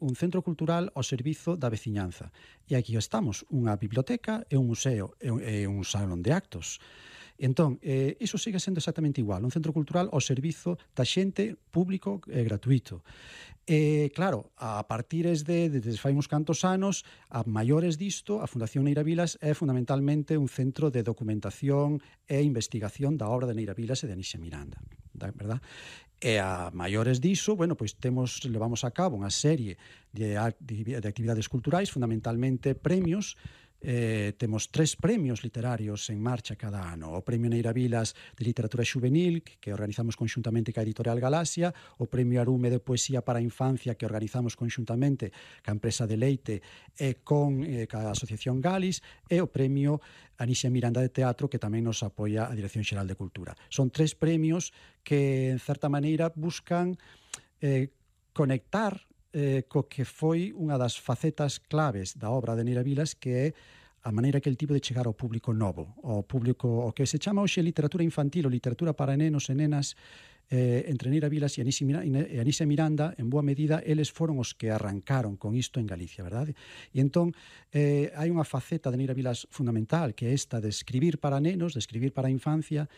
un centro cultural ao servizo da veciñanza. E aquí estamos, unha biblioteca e un museo e un salón de actos. Entón, iso sigue sendo exactamente igual, un centro cultural ao servizo da xente, público e gratuito. E, claro, a partires desde fai uns cantos anos, a maiores disto, a Fundación Neira Vilas é fundamentalmente un centro de documentación e investigación da obra de Neira Vilas e de Anísia Miranda, verdad? E a maiores diso, bueno, pois levamos a cabo unha serie de actividades culturais, fundamentalmente premios. Temos 3 premios literarios en marcha cada ano: o Premio Neira Vilas de Literatura Xuvenil, que organizamos conxuntamente ca Editorial Galaxia, o Premio Arume de Poesía para a Infancia, que organizamos conxuntamente ca empresa de Leite e ca Asociación Galis, e o Premio Anísia Miranda de Teatro, que tamén nos apoia a Dirección Xeral de Cultura. Son 3 premios que, en certa maneira, buscan conectar co que foi unha das facetas claves da obra de Neira Vilas, que é a maneira que el tivo de chegar ao público novo, ao público o que se chama hoxe literatura infantil ou literatura para nenos e nenas. Entre Neira Vilas e Anísia Miranda, en boa medida, eles foron os que arrancaron con isto en Galicia, verdade? E entón, hai unha faceta de Neira Vilas fundamental, que é esta de escribir para nenos, de escribir para a infancia,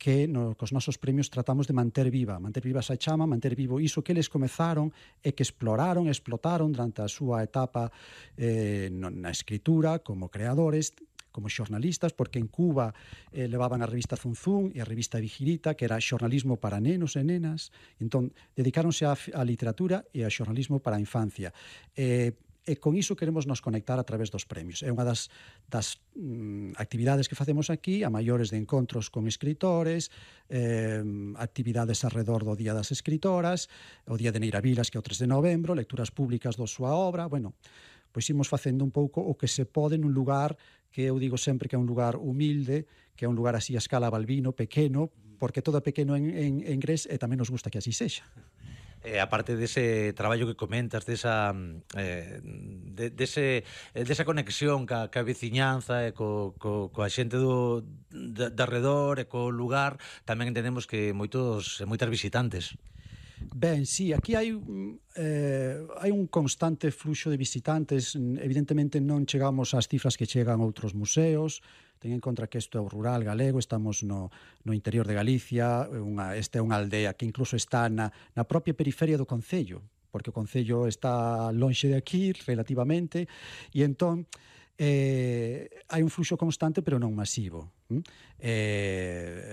que cos nosos premios tratamos de manter viva esa chama, manter vivo iso que eles comezaron e que exploraron e explotaron durante a súa etapa na escritura, como creadores, como xornalistas, porque en Cuba levaban a revista Zunzún e a revista Vigirita, que era xornalismo para nenos e nenas. Entón, dedicáronse á literatura e ao xornalismo para a infancia. E con iso queremos nos conectar a través dos premios. É unha das actividades que facemos aquí, a maiores de encontros con escritores, actividades alrededor do Día das Escritoras, o Día de Neira Vilas, que é o 3 de novembro, lecturas públicas da súa obra. Bueno, pois imos facendo un pouco o que se pode nun lugar que eu digo sempre que é un lugar humilde, que é un lugar así a escala Balbino, pequeno, porque todo é pequeno en Gres e tamén nos gusta que así sexa. Aparte dese traballo que comentas, desa conexión ca veciñanza e coa xente de arredor e co lugar, tamén entendemos que moitas visitantes. Ben, sí, aquí hai un constante fluxo de visitantes. Evidentemente non chegamos ás cifras que chegan outros museos. Ten en conta que isto é o rural galego, estamos no interior de Galicia, esta é unha aldea que incluso está na propia periferia do concello, porque o concello está lonxe de aquí relativamente, e entón hai un fluxo constante pero non masivo.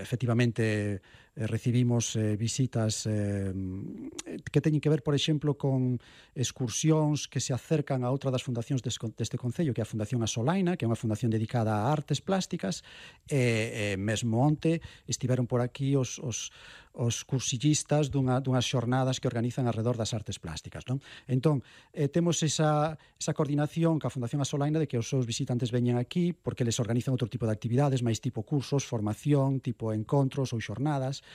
Efectivamente, recibimos visitas que teñen que ver, por exemplo, con excursións que se acercan a outra das fundacións deste concello, que é a Fundación Asolaina, que é unha fundación dedicada a artes plásticas, e mesmo onte estiveron por aquí os cursillistas dunhas xornadas que organizan alrededor das artes plásticas, non? Entón, temos esa coordinación ca Fundación Asolaina de que os seus visitantes veñen aquí porque les organizan outro tipo de actividades, máis tipo cursos, formación, tipo encontros ou xornadas.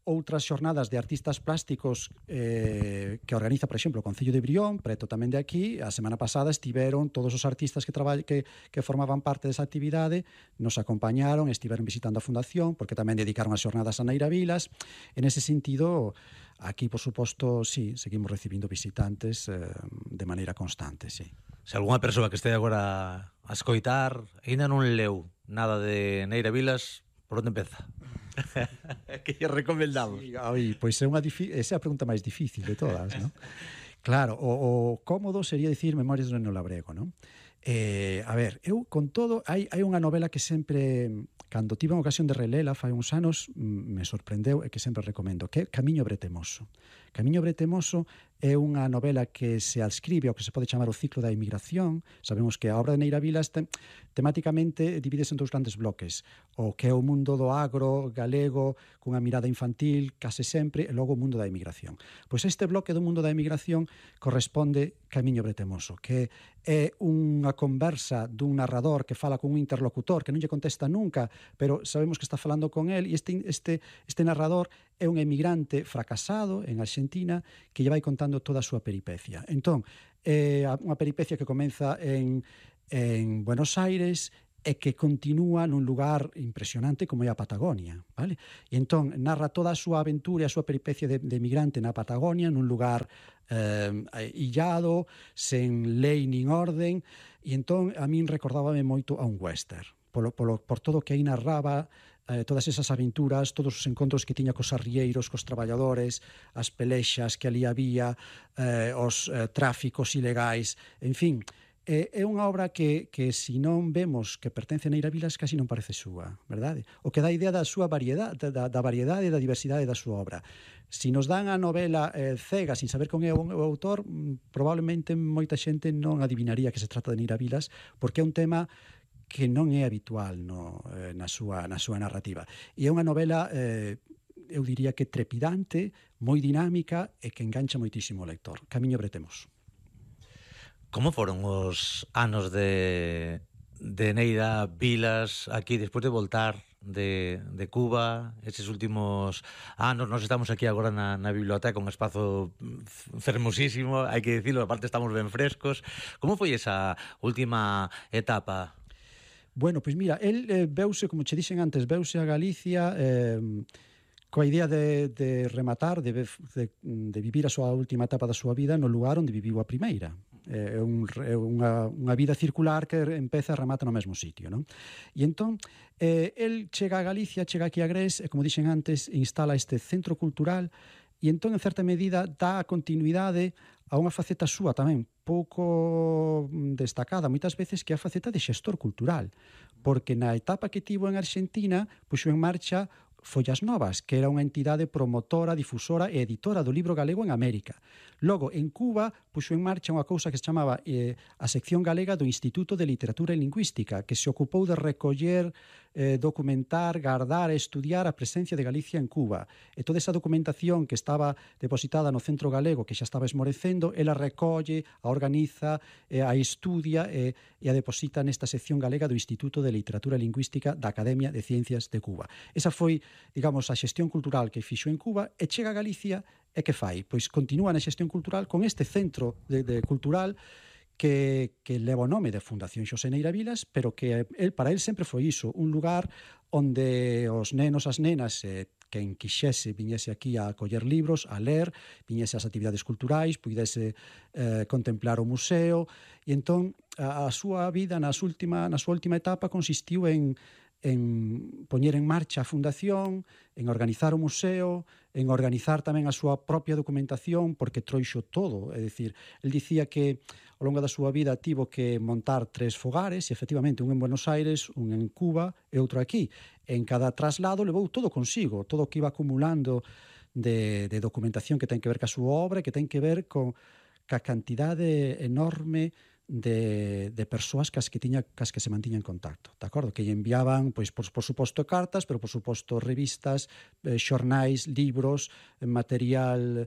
Outras xornadas de artistas plásticos que organiza, por exemplo, o Concello de Brión, preto tamén de aquí. A semana pasada estiveron todos os artistas que formaban parte desa actividade, nos acompañaron, estiveron visitando a Fundación, porque tamén dedicaron as xornadas a Neira Vilas. En ese sentido, aquí, por suposto, sí, seguimos recibindo visitantes de maneira constante, sí. Se algunha persoa que este agora a escoitar ainda non leu nada de Neira Vilas, por onde empeza? Que lle recomendamos? Sí, pois esa é a pregunta máis difícil de todas, non? Claro, o cómodo sería dicir Memorias do Neno Labrego, non? A ver, eu con todo, hai unha novela que sempre, cando tive unha ocasión de relela fai uns anos, me sorprendeu e que sempre recomendo, que é Camiño Bretemoso. Camiño Bretemoso é unha novela que se adscribe ao que se pode chamar o ciclo da emigración. Sabemos que a obra de Neira Vilas temáticamente divídese en 2 grandes bloques: o que é o mundo do agro galego cunha mirada infantil case sempre, e logo o mundo da emigración. Pois este bloque do mundo da emigración corresponde Camiño Bretemoso, que é unha conversa dun narrador que fala con un interlocutor que non lle contesta nunca, pero sabemos que está falando con él, e este narrador é un emigrante fracasado en Argentina que lle vai contando toda a súa peripecia. Entón, unha peripecia que comeza en Buenos Aires e que continúa nun lugar impresionante como é a Patagonia, vale? E entón narra toda a súa aventura e a súa peripecia de migrante na Patagonia, nun lugar illado, sen lei nin orden, e entón a min recordábame moito a un western, por todo o que aí narraba, todas esas aventuras, todos os encontros que tiña cos arrieiros, cos traballadores, as pelexas que ali había, os tráficos ilegais, en fin. É unha obra que se non vemos que pertence a Neira Vilas, casi non parece súa, verdade? O que dá idea da súa variedade, da variedade e da diversidade da súa obra. Se nos dan a novela cega, sin saber con é o autor, probablemente moita xente non adivinaría que se trata de Neira Vilas, porque é un tema que non é habitual na súa narrativa. E é unha novela, eu diría que trepidante, moi dinámica e que engancha moitísimo o lector. Camiño Bretemos. Como foron os anos de Neira Vilas aquí despois de voltar de Cuba, eses últimos anos? Nos estamos aquí agora na biblioteca, un espazo fermosísimo, hai que dicilo, aparte estamos ben frescos. Como foi esa última etapa? Bueno, pois mira, el veuse, como che dixen antes, veuse a Galicia coa idea de rematar, de vivir a súa última etapa da súa vida no lugar onde viviu a primeira. É unha vida circular que empeza e remata no mesmo sitio, non? E entón, el chega a Galicia, chega aquí a Gres, e como dixen antes, instala este centro cultural, e entón, en certa medida, dá continuidade a unha faceta súa tamén pouco destacada moitas veces, que é a faceta de xestor cultural, porque na etapa que tivo en Argentina puxo en marcha Follas Novas, que era unha entidade promotora, difusora e editora do libro galego en América. Logo, en Cuba, puxo en marcha unha cousa que se chamaba a sección galega do Instituto de Literatura e Lingüística, que se ocupou de recoller, documentar, guardar e estudiar a presencia de Galicia en Cuba. E toda esa documentación que estaba depositada no Centro Galego, que xa estaba esmorecendo, ela recolle, a organiza, a estudia e a deposita nesta sección galega do Instituto de Literatura e Lingüística da Academia de Ciencias de Cuba. Esa foi, digamos, a xestión cultural que fixo en Cuba, e chega a Galicia e que fai? Pois continúa na xestión cultural con este centro cultural que leva o nome de Fundación Xosé Neira Vilas, pero que para el sempre foi iso, un lugar onde os nenos, as nenas, quen quixese viñese aquí a coller libros, a ler, viñese ás actividades culturais, puidese contemplar o museo, e entón a súa vida na súa última etapa consistiu en poñer en marcha a fundación, en organizar o museo, en organizar tamén a súa propia documentación, porque trouxo todo. É dicir, el dicía que ao longo da súa vida tivo que montar 3 fogares, e efectivamente un en Buenos Aires, un en Cuba e outro aquí. En cada traslado levou todo consigo, todo o que iba acumulando de documentación que ten que ver ca súa obra, que ten que ver ca cantidade enorme de persoas cas que se mantiña en contacto, de acordo? Que lle enviaban, pois, por suposto, cartas, pero por suposto revistas, xornais, libros, material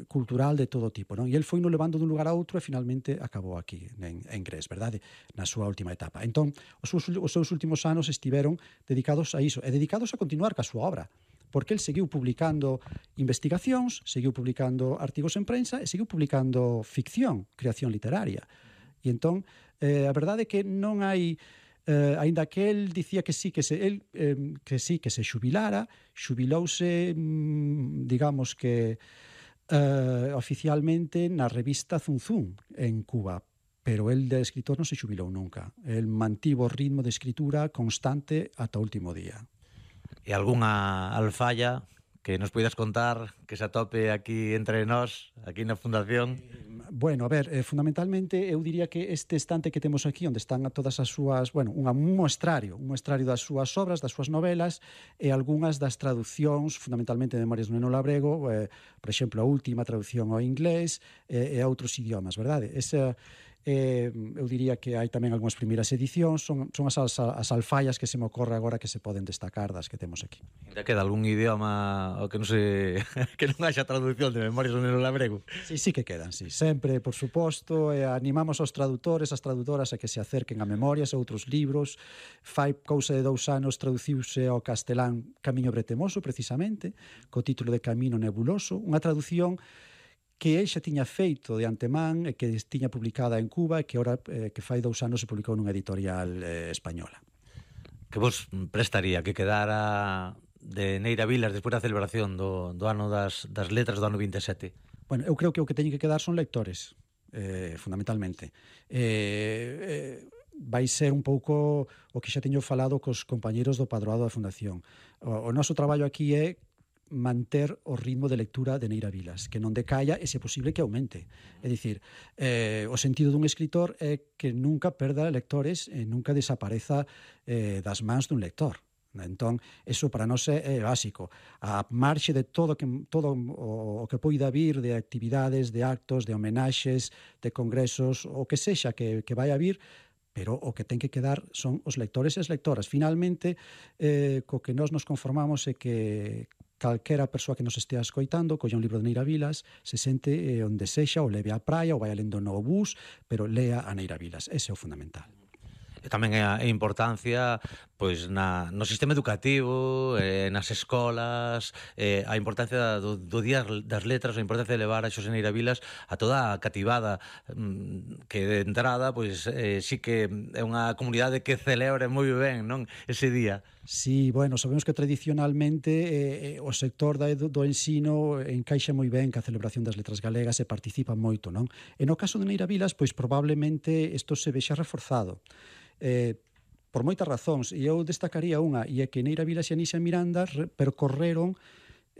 cultural de todo tipo, non? E el foi no levando dun lugar a outro e finalmente acabou aquí en Gres, verdade? Na súa última etapa. Entón, os seus últimos anos estiveron dedicados a iso, e dedicados a continuar ca súa obra, porque el seguiu publicando investigacións, seguiu publicando artigos en prensa e seguiu publicando ficción, creación literaria. E entón, a verdade é que non hai, aínda que el dicía que sí, que se xubilouse, digamos que oficialmente na revista Zunzún en Cuba, pero el de escritor non se xubilou nunca. El mantivo o ritmo de escritura constante ata o último día. E algunha alfalla que nos poidas contar, que se atope aquí entre nós, aquí na Fundación? Bueno, a ver, fundamentalmente eu diría que este estante que temos aquí, onde están todas as súas, bueno, un moestrario das súas obras, das súas novelas, e algunhas das traducións, fundamentalmente de Memorias do Neno Labrego, por exemplo, a última traducción ao inglés e a outros idiomas, verdade? Eu diría que hai tamén algunhas primeiras edicións, son as alfallas que se me ocorre agora que se poden destacar das que temos aquí. Ainda queda algún idioma o que non se que non haxa traducción de Memorias do Neno Labrego? Sí que quedan, sí. Sempre, por suposto, animamos aos tradutores, as tradutoras a que se acerquen a Memorias e outros libros. Fai cousa de 2 anos traduciuse ao castelán Camiño Bretemoso, precisamente, co título de Camino Nebuloso, unha traducción que el xa tiña feito de antemán e que tiña publicada en Cuba e que ahora que fai 2 anos se publicou nunha editorial española. Que vos prestaría que quedara de Neira Vilas despois da celebración do ano das letras do ano 27? Bueno, eu creo que o que teñen que quedar son lectores, fundamentalmente. Vai ser un pouco o que xa teño falado cos compañeros do padroado da Fundación. O noso traballo aquí é manter o ritmo de lectura de Neira Vilas, que non decaia e, se posible, que aumente. É dicir, o sentido dun escritor é que nunca perda lectores e nunca desapareza das mans dun lector. Entón, eso para nós é básico. A marxe de todo o que poida vir de actividades, de actos, de homenaxes, de congresos, o que sexa que vai a vir, pero o que ten que quedar son os lectores e as lectoras. Finalmente, co que nós nos conformamos é que calquera persoa que nos estea escoitando colla un libro de Neira Vilas, se sente onde sexa, ou leve á praia, ou vai lendo no bus, pero lea a Neira Vilas. Ese é o fundamental. E tamén a importancia pois no sistema educativo, nas escolas, a importancia do Día das Letras, a importancia de levar a Xosé Neira Vilas a toda a cativada, que de entrada pois sí que é unha comunidade que celebra moi ben, non, ese día. Sí, bueno, sabemos que tradicionalmente o sector do ensino encaixa moi ben ca celebración das letras galegas e participa moito, non? E no caso de Neira Vilas, pois probablemente isto se vexa reforzado. Por moitas razóns, e eu destacaría unha, e é que Neira Vilas e Anísia Miranda percorreron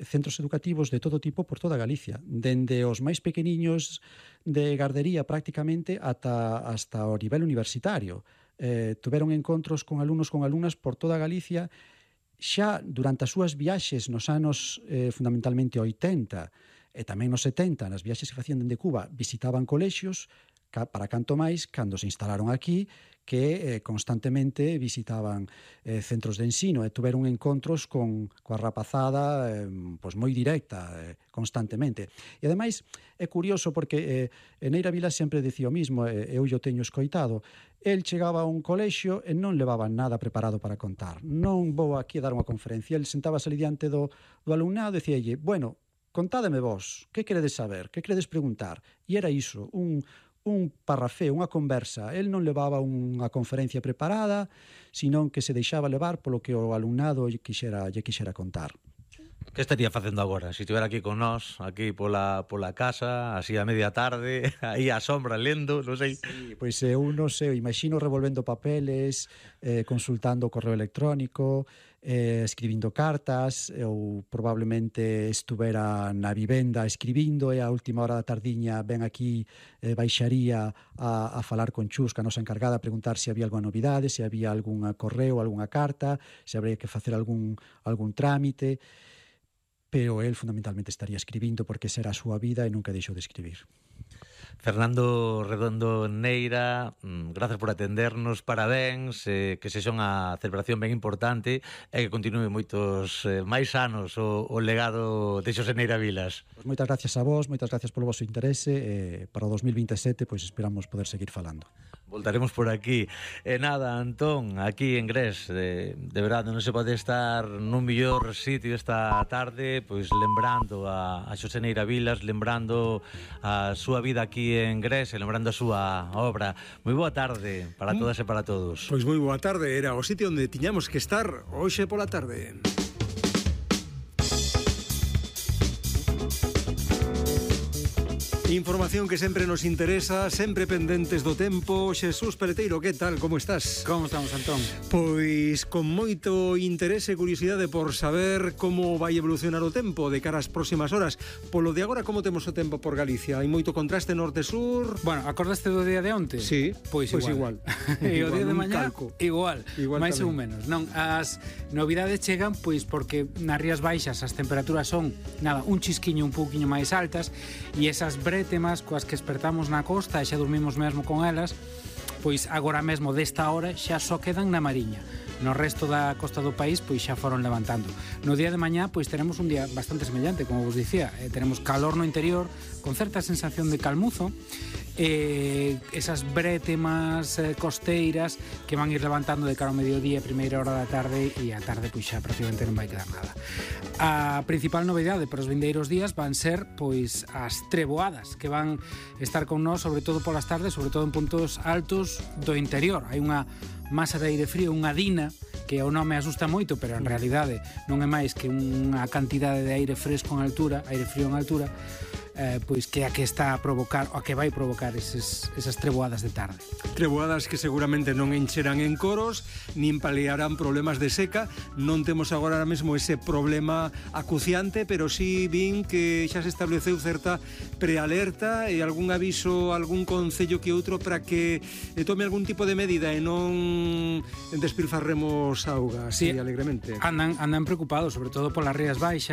centros educativos de todo tipo por toda Galicia, dende os máis pequeniños de gardería prácticamente hasta o nivel universitario. Tuveron encontros con alumnos con alumnas por toda Galicia. Xa durante as súas viaxes nos anos fundamentalmente 80 e tamén nos 70, nas viaxes que facían dende Cuba, visitaban colexios, para canto máis cando se instalaron aquí, que constantemente visitaban centros de ensino e tuveron encontros coa rapazada pois moi directa, constantemente. E ademais é curioso porque Neira Vilas sempre dicía o mismo, eu yo teño escoitado. El chegaba a un colexio e non levaba nada preparado para contar. Non vou aquí a dar unha conferencia. El sentábase ali diante do alumnado e dicíalle, bueno, contádeme vos, que queredes saber, que queredes preguntar? E era iso, un parrafeo, unha conversa. El non levaba unha conferencia preparada, senón que se deixaba levar polo que o alumnado lle quixera contar. Que estaría facendo agora? Se estivera aquí con nós, aquí pola casa, así a media tarde, aí á sombra lendo, non sei. Sí, pois eu non sei, imagino revolvendo papeles, consultando o correo electrónico, escribindo cartas, ou probablemente estuvera na vivenda escribindo e a última hora da tardiña ven aquí, baixaría a falar con Chus, que a nosa encargada, a preguntar se había alguna novidade, se había algún correo, algunha carta, se habría que facer algún trámite, pero él fundamentalmente estaría escribindo porque esa era a súa vida e nunca deixou de escribir. Fernando Redondo Neira, gracias por atendernos, parabéns, que sexa unha celebración ben importante e que continue moitos máis anos o legado de Xosé Neira Vilas. Pues moitas gracias a vos, moitas gracias polo vosso interese e para o 2027 pois esperamos poder seguir falando. Voltaremos por aquí. E nada, Antón, aquí en Gres, de verdade non se pode estar nun mellor sitio esta tarde, pois lembrando a Xosé Neira Vilas, lembrando a súa vida aquí en Gres e lembrando a súa obra. Moi boa tarde para todas e para todos. Pois moi boa tarde, era o sitio onde tiñamos que estar hoxe pola tarde. Información que sempre nos interesa, sempre pendentes do tempo. Xesús Peleteiro, que tal? Como estás? Como estamos, Antón? Pois con moito interese e curiosidade por saber como vai evolucionar o tempo de cara ás próximas horas. Polo de agora, como temos o tempo por Galicia? Hai moito contraste norte-sur? Bueno, acordaste do día de onte? Sí, pois igual. E o día de mañá, igual máis ou menos. Non, as novidades chegan pois porque nas Rías Baixas as temperaturas son, nada, un chisquiño un pouquiño máis altas e esas temas coas que espertamos na costa e xa dormimos mesmo con elas, pois agora mesmo desta hora xa só quedan na Mariña. No resto da costa do país pois xa foron levantando. No día de mañá pois teremos un día bastante semellante, como vos dicía, teremos calor no interior con certa sensación de calmuzo esas brétemas costeiras que van ir levantando de cara ao mediodía, primeira hora da tarde, e a tarde pois xa prácticamente non vai quedar nada. A principal novidade para os vindeiros días van ser pois as treboadas que van estar con nós, sobre todo polas tardes, sobre todo en puntos altos do interior. Hai unha masa de aire frío, unha dina, que o nome asusta moito, pero en realidade non é máis que unha cantidade de aire fresco en altura, aire frío en altura, pois que a que está a provocar, o a que vai provocar esas treboadas de tarde. Treboadas que seguramente non encherán en coros, nin paliarán problemas de seca. Non temos agora mesmo ese problema acuciante, pero sí vin que xa se estableceu certa prealerta e algún aviso, algún concello que outro para que tome algún tipo de medida e non despilfarremos auga así alegremente. Andan preocupados, sobre todo polas rías baixas,